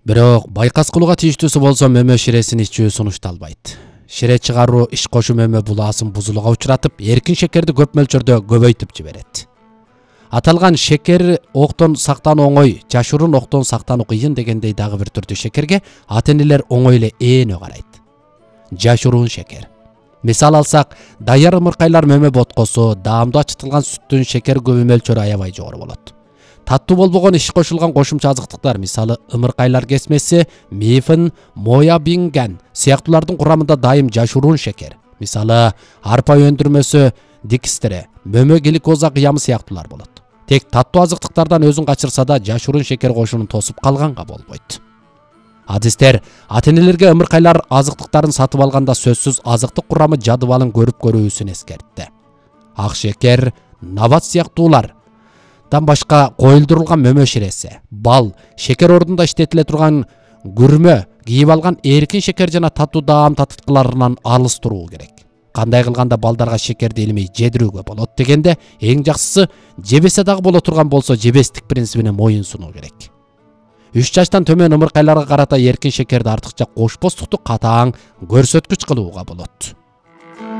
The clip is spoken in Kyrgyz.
Бирок байкас кылууга тийиштүүсү болсо мөмө ширесин ичүү сунушталбайт. Шире чыгаруу иш кошу мөмө булаасын бузулууга учуратып, эркин шекерди көп мөлчөрдө көбөйтүп жиберет. Аталган шекер октон сактануу оңой, жашыруун октон сактануу кыйын дегендей дагы бир түрдүү шекерге ата-энелер оңой эле ээнө карайт. Жашыруун шекер. Мисал алсак, даяр ымыркайлар мөмө боткосу, даамдуу ачытылган сүттүн шекер көбү мөлчөрү аябай жогору болот. Таттуу болбогон иш кошулган кошумча азыктыктар, мисалы ымыркайлар кесмеси, мифин, моябинген сыяктуулардын курамында дайым жашыруун шекер, мисалы арпа өндүрмөсү, дикстере, мөмө гликоза кыямы сыяктуулар болот. Тек таттуу азыктыктардан өзүн качырса да жашыруун шекер кошуунун тосуп калганга болбойт. Адистер ата-энелерге ымыркайлар азыктыктарын сатып алганда сөзсүз азыктык курамы жадыбалын көрүп көрүүсүн эскертти. Ак шекер, нават сыяктуулар башка коюлдурулган мөмө ширесе, бал, шекер ордунда иштетиле турган күрмө, кийип алган эркин шекер жана таттуу даам татыткыларынан алыс туруу керек. Кандай кылганда балдарга шекерди илмей жедирүүгө болот дегенде, эң жакшысы жебесе дагы боло турган болсо жебестик принцибине моюн сунуу керек. 3 жаштан төмөн ымыркайларга карата эркин шекерди артыкча кошпостукту катаң көрсөткүч кылууга болот.